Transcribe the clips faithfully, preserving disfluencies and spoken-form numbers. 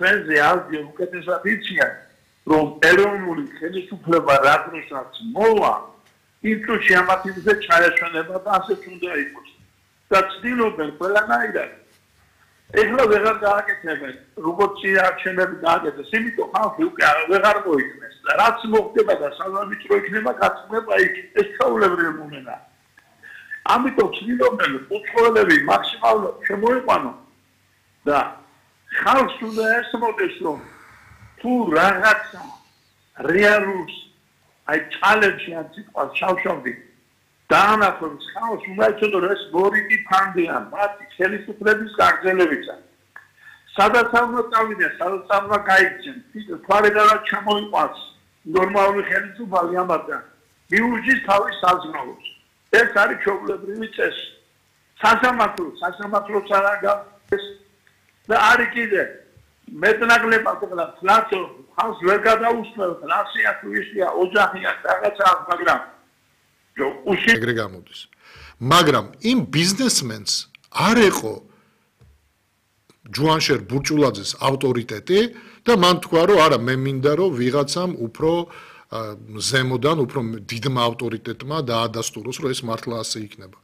ჩვენზე აზია უკეთესად იციან, რომ ეროვნული ხელისუფლება რა დროსაც მოვა, იმ წუთში ამათ იმზე ჩაეშვენება და ასეც უნდა იყოს. და ცდილობენ ყველანაირად. ეხლა ვეღარ გააკეთებენ, როგორც არჩევნები გააკეთეს, იმიტომ ხალხი უკვე ვეღარ მოიქნეს. რაც მოხდება და სავარჯიშო იქნება, გაცნობა იქ. ეს ჩვეულებრივი მომენტია. ამიტომ ცდილობენ უცხოელები მაქსიმალურად შემოიყვანონ და ხალხს უნდა ესმოდეს, რომ თუ რაღაცა რეალურს აი ჩალენჯი ან სიტყვას შავშავდი დაანახოს ხალხს უნდა იცოდოს ეს მორიგი ფანდია მათი ხელისუფლების გაგრძელებისა. სადაც უნდა წავიდნენ, სადაც უნდა გაიქცენ, თვარედანაც ჩამოიყვანს ნორმალური ხელისუფალი ამათგან მიუჯის თავის საზღვრავს. ეს არის ჩვეულებრივი წესი. სასამართლო, სასამართლოც არ არის და არის კიდე მეტნაკლებად ყველა ფლაცო ხალხს ვერ გადაუსმევთ, რასია თუ ისია, ოჯახია, რაღაცაა, მაგრამ ეგრე გამოდის. მაგრამ იმ ბიზნესმენს არ ეყო ჯუანშერ ბურჭულაძეს ავტორიტეტი და მან თქვა, რომ არა, მე მინდა რომ ვიღაცამ უფრო ზემოდან, უფრო დიდმა ავტორიტეტმა დაადასტუროს, რომ ეს მართლა ასე იქნება.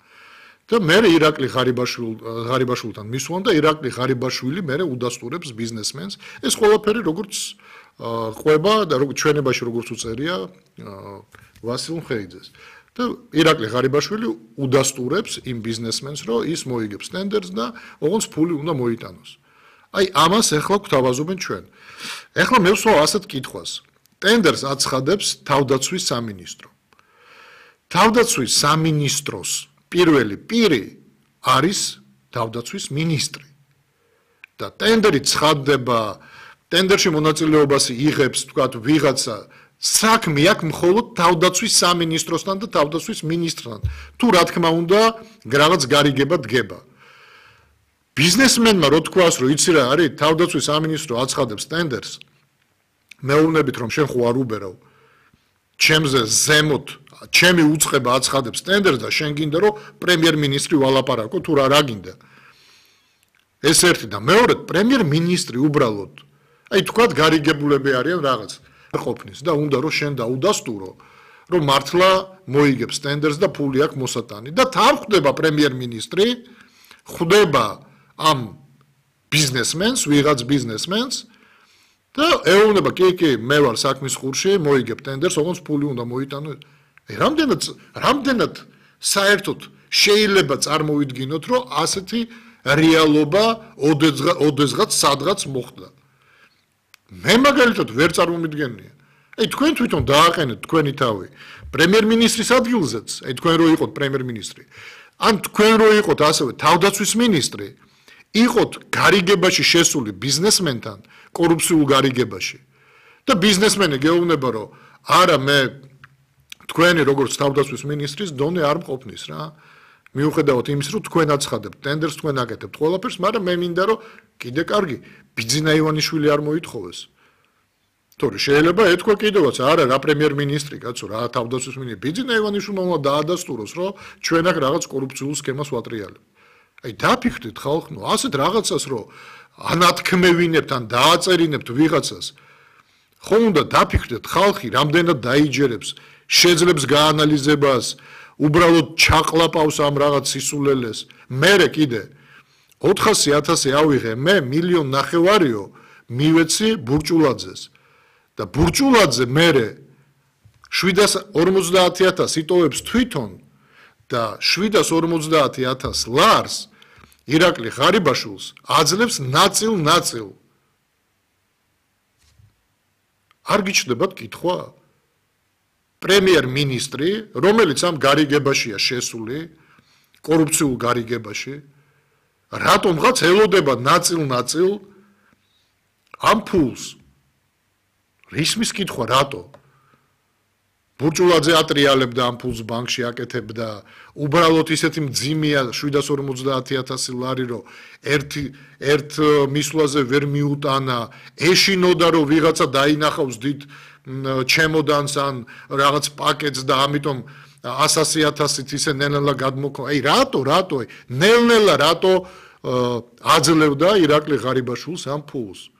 და მე ირაკლი ღარიბაშვილთან მისვან და ირაკლი ღარიბაშვილი მე უდასტურებს ბიზნესმენს. ეს ყველაფერი როგორც ყვება და როგორც ჩვენებაში როგორც უწერია ვასილ მხეიძეს. და ირაკლი ღარიბაშვილი უდასტურებს იმ ბიზნესმენს, რომ ის მოიგებს ტენდერს და ოღონდ ფული უნდა მოიტანოს. აი ამას ახლა გვთავაზობენ ჩვენ. ახლა მე ვსვავ ასეთ კითხვას. ტენდერს აცხადებს თავდაცვის სამინისტრო. თავდაცვის სამინისტროს პირველი პირი არის თავდაცვის მინისტრი. და ტენდერი ცხადდება, ტენდერში მონაწილეობას იღებს, თქვათ, ვიღაცა საქმე აქვს მხოლოდ თავდაცვის სამინისტროსთან და თავდაცვის მინისტრთან. თუ რა თქმა უნდა, რაღაც გარიგება დგება. ბიზნესმენმა რო თქვას, რომ იცი რა არის, თავდაცვის სამინისტრო აცხადებს ტენდერს, მეუბნებით რომ შენ ხო არ უბერავ. ჩემზე ზემოთ, ჩემი უწყება აცხადებს ტენდერს და შენ გინდა რომ პრემიერ-მინისტრი ვალაპარაკო თუ რა რა გინდა. ეს ერთი და მეორედ პრემიერ-მინისტრი უბრალოდ, აი თქვათ გარიგებულები არიან რაღაც ყოფნის და უნდა რომ შენ დაუდასტურო, რომ მართლა მოიგებს ტენდერს და ფული აქვს მოსატანი და თან ხვდება პრემიერ-მინისტრი, ხვდება ამ ბიზნესმენს, ვიღაც ბიზნესმენს და ეუბნება, კი, კი, მე ვარ საქმის ხურში, მოიგებ ტენდერს, ოღონდ ფული უნდა მოიტანო. რამდენად რამდენად საერთოდ შეიძლება წარმოვიდგინოთ, რომ ასეთი რეალობა ოდესღაც სადღაც მოხდა. მე მაგალითად ვერ წარმომიდგენია. აი თქვენ თვითონ დააყენეთ თქვენი თავი პრემიერ-მინისტრის ადგილზეც, აი თქვენ რო იყოთ პრემიერ-მინისტრი. ან თქვენ რო იყოთ ასევე თავდაცვის მინისტრი, იყოთ გარიგებაში შესული ბიზნესმენთან, კორუფციულ გარიგებაში. და ბიზნესმენი გეუბნება, რომ არა მე თქვენი როგორც თავდაცვის მინისტრის დონე არ მყოფნის რა. მიუხედავად იმის, რომ თქვენ აცხადებთ ტენდერს, თქვენ აკეთებთ ყველაფერს, მაგრამ მე მინდა რომ კიდე კარგი ბიძინა ივანიშვილი არ მოითხოვეს. თორე შეიძლება ეთქვა კიდევაც, არა რა პრემიერ-მინისტრი, კაცო, რა თავდაცვის მინისტრი, ბიძინა ივანიშვილმა უნდა დაადასტუროს, რომ ჩვენ აქ რაღაც კორუფციულ სქემას ვატრიალებთ. აი დაფიქრდით ხალხო, ასეთ რაღაცას რომ ანათქმევინებთ ან დააწერინებთ ვიღაცას, ხო უნდა დაფიქრდეთ ხალხი რამდენად დაიჯერებს, შეძლებს გაანალიზებას, უბრალოდ ჩაყლაპავს ამ რაღაც სისულელეს. მერე კიდე ოთხასი ათასი ავიღე, მე მილიონ ნახევარიო მივეცი ბურჭულაძეს. და ბურჭულაძე მერე შვიდას ორმოცდაათი ათასი იტოვებს თვითონ და შვიდას ორმოცდაათი ათასი ლარს ირაკლი ღარიბაშვილს აძლევს ნაწილ-ნაწილ. არ გიჩნდებათ კითხვა? პრემიერ-მინისტრი, რომელიც ამ გარიგებაშია შესული, კორუფციულ გარიგებაში, რატომღაც ელოდება ნაწილ-ნაწილ ამ ფულს? რისმის კითხვა რატო? ბურჭულაძე ატრიალებდა ამ ფულს ბანკში აკეთებდა, უბრალოდ ისეთი მძიმეა შვიდას ორმოცდაათი ათასი ლარი, რომ ერთი ერთ მისვლაზე ვერ მიუტანა, ეშინოდა რომ ვიღაცა დაინახავს დიდ ჩემოდანს ან რაღაც პაკეტს და ამიტომ ასასი ათასით ისე ნელ-ნელა გადმოქვა. აი რატო, რატო, ნელ-ნელა რატო აძლევდა ირაკლი ღარიბაშვილს ამ ფულს?